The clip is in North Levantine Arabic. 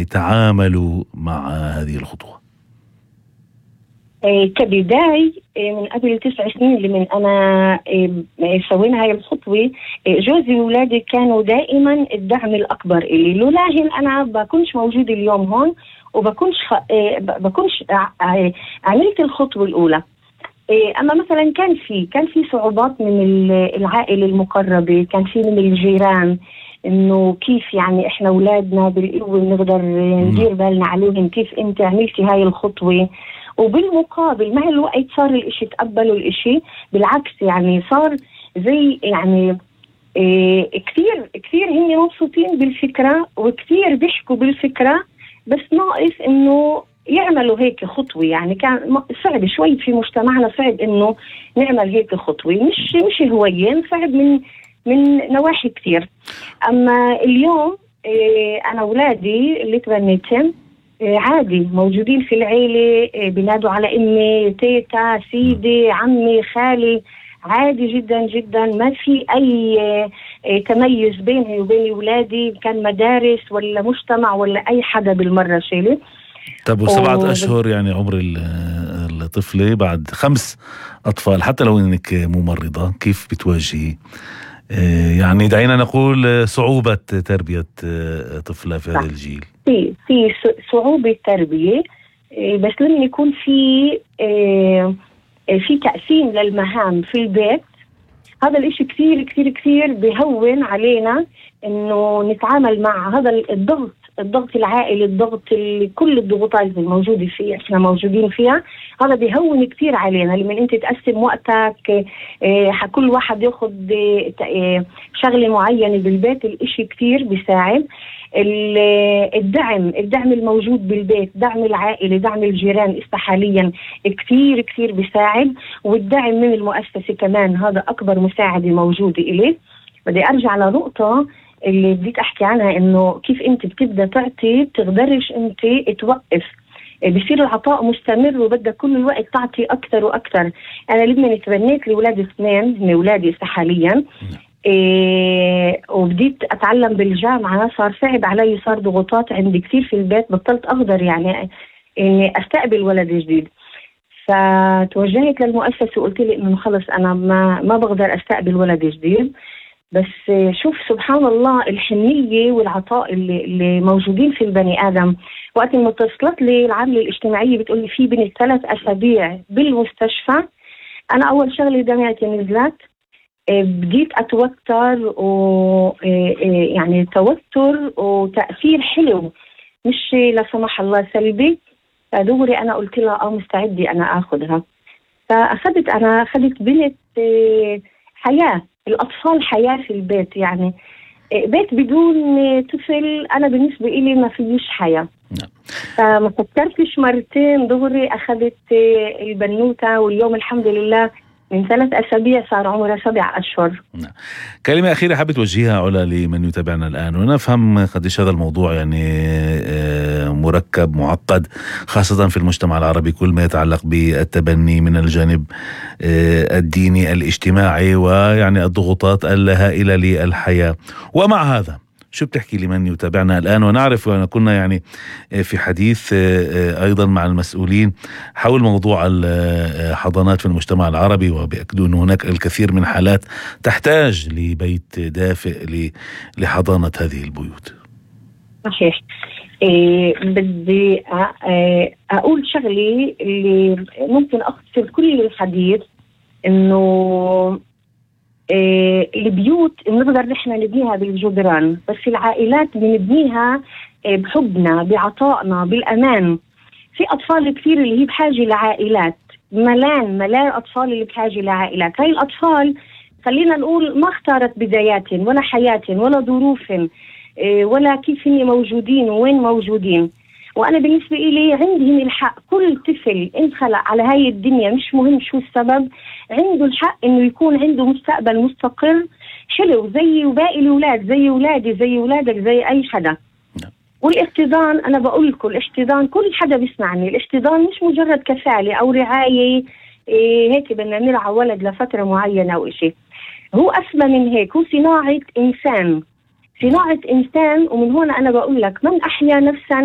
يعني تعاملوا مع هذه الخطوة؟ كبداية من قبل 9 سنين اللي من أنا سوينا هاي الخطوة، جوزي وولادي كانوا دائما الدعم الأكبر إلي. لولاهن أنا بكونش موجود اليوم هون، وبكونش عملت الخطوة الأولى. أما مثلا كان في صعوبات من العائلة المقربة، كان في من الجيران، إنه كيف يعني إحنا أولادنا بالقوة بنقدر ندير بالنا عليهم، كيف أنت عملتي هاي الخطوة؟ وبالمقابل مع الوقت صار الإشي، تقبلوا الإشي، بالعكس يعني صار زي يعني كثير هم مبسوطين بالفكرة وكثير بيحكوا بالفكرة، بس ناقص إنه يعملوا هيك خطوة. يعني كان صعب شوي في مجتمعنا، صعب إنه نعمل هيك خطوة، مش هوايين، صعب من نواحي كثير. أما اليوم أنا أولادي اللي تبنيتهم عادي موجودين في العيلة، بينادوا على أمي، تيتا، سيدي، عمي، خالي، عادي جدا جدا. ما في أي تميز بيني وبين أولادي، كان مدارس ولا مجتمع ولا أي حدا بالمرة شيلي. طب و7 أشهر يعني عمر الطفلة بعد 5 أطفال، حتى لو إنك ممرضة، كيف بتواجهي يعني دعينا نقول صعوبة تربية طفلة في هذا الجيل؟ في صعوبة تربية، بس لما يكون في تقسيم للمهام في البيت، هذا الاشي كثير كثير كثير بيهون علينا انه نتعامل مع هذا الضغط العائلي، كل الضغوطات الموجودة فيها احنا موجودين فيها. هذا بيهون كثير علينا لما انت تقسم وقتك، كل واحد ياخد شغلة معينة بالبيت. الاشي كثير بيساعد. الدعم الموجود بالبيت، دعم العائلة، دعم الجيران حاليا كثير كثير بيساعد. والدعم من المؤسسة كمان، هذا أكبر مساعدة موجودة إليه. بدي أرجع لنقطة اللي بديت أحكي عنها، إنه كيف أنت بتبدأ تعطي، بتقدرش أنت توقف، بيصير العطاء مستمر وبدك كل الوقت تعطي أكثر وأكثر. أنا لما تبنيت لأولادي 2 من أولادي حاليا، وبديت أتعلم بالجامعة، صار صعب علي، صار ضغوطات عندي كثير في البيت، بطلت أقدر يعني إني أستقبل ولد جديد. فتوجهت للمؤسسة وقلت لي إنه خلص أنا ما بقدر أستقبل ولد جديد. بس شوف سبحان الله الحنية والعطاء اللي موجودين في البني آدم. وقت ما اتصلت لي العاملة الاجتماعية بتقول لي في بنت 3 أسابيع بالمستشفى، أنا أول شغلة دمعتي نزلت، بديت أتوتر، يعني توتر وتأثير حلو، مش لا سمح الله سلبي. فدوري أنا قلت لها مستعدة أنا أخذها. أخذت بنت حياة. الأطفال حياة في البيت، يعني بيت بدون طفل أنا بالنسبة إلي ما فيش حياة. فما فكرتش مرتين، دغري أخذت البنوتة، واليوم الحمد لله من 3 أسابيع صار عمرها 7 أشهر. كلمة أخيرة حابة توجهها علا لمن يتابعنا الآن، ونفهم قديش هذا الموضوع يعني مركب معقد، خاصة في المجتمع العربي، كل ما يتعلق بالتبني من الجانب الديني الاجتماعي، ويعني الضغوطات الهائلة للحياة. ومع هذا شو بتحكي لمن يتابعنا الآن؟ ونعرف أن كنا يعني في حديث أيضا مع المسؤولين حول موضوع الحضانات في المجتمع العربي، وبيأكدوا أن هناك الكثير من حالات تحتاج لبيت دافئ لحضانة هذه البيوت. صحيح. بدي أقول شغلي اللي ممكن أختصر كل الحديث، إنه البيوت بنقدر نحن نبنيها بالجدران، بس العائلات بنبنيها بحبنا، بعطائنا، بالأمان. في أطفال كثير اللي هي بحاجة لعائلات، ملان أطفال اللي بحاجة لعائلات. هاي الأطفال خلينا نقول ما اختارت بدايات ولا حياة ولا ظروف ولا كيف هن موجودين وين موجودين. وأنا بالنسبة إلي عندهم الحق. كل طفل انخلق على هاي الدنيا، مش مهم شو السبب، عنده الحق إنه يكون عنده مستقبل مستقر حلو زي باقي الأولاد، زي أولادي، زي أولادك، زي أي حدا. والاحتضان، أنا بقول لكم الاحتضان، كل حدا بيسمعني، الاحتضان مش مجرد كفالة أو رعاية هيك بدنا نرعى ولد لفترة معينة أو إشي. هو أسمى من هيك، هو صناعة إنسان. ومن هون أنا بقول لك من أحيا نفسا